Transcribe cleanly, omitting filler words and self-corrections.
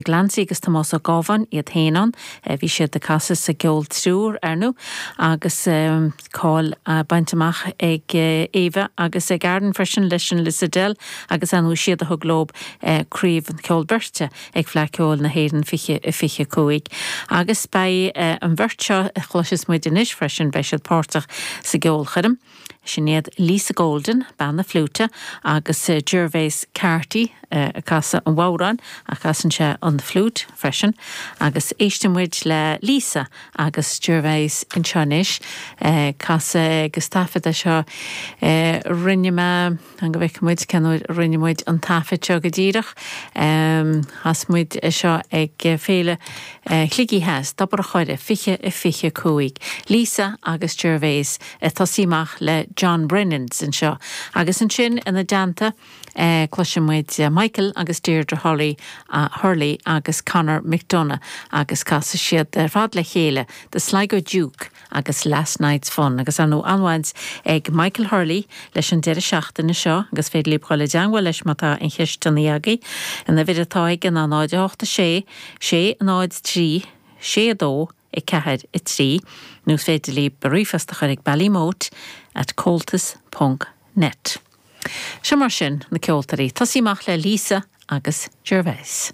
Glancy agus Tomás Ó Gábháin iad féin ann. Bhí siad ag casadh sa gceol triúr, ar ndú, agus cáil bainte amach ag Éabha agus ag Aaron freisin leis an Lissadell agus ar ndú is iad a thug leo craobh an cheoil beirte ag Fleadh Ceoil na hÉireann 2025. Agus beidh an bheirt seo a chloisfeas muid anois freisin, beidh siad páirteach sa gceolchoirm. Sin iad Lisa Golden, bean na fliúite, agus Gervase Carty, ag casadh an bhodhráin, ach casann sé an fliúit freisin. Agus éisteann muid le Lisa agus Gervase anseo anois, ag casadh agus taifead é seo a rinne mé, fan go bhfeicfidh muid cén uair a rinne muid an taifead seo go díreach. Chas muid é seo ag Féile Shligigh Theas, Tobar a' Choire, 20 25. Lisa agus Gervase. Ag tosaí amach le John Brennans anseo agus ansin ina dteannta cloisfidh muid Michael agus Deirdre Hurley Hurley agus Conor McDonagh agus casfaidh siad ar fad le chéile The Sligo Duke agus Last Night's Fun agus ar ndóigh an-bhaint ag Michael Hurley leis an deireadh seachtaine seo agus féidir libh dhul i dteangmháil leis má tá aon cheisteanna agaibh. An uimhir atá aige ná 0 8 6 6 0 3 6 2 4, 3, nó is féidir libh ríomhphost a chur ag ballymote at comhaltas ponc net. Seo mar sin na ceoltóirí. Tosaí amach le Lisa agus Gervase.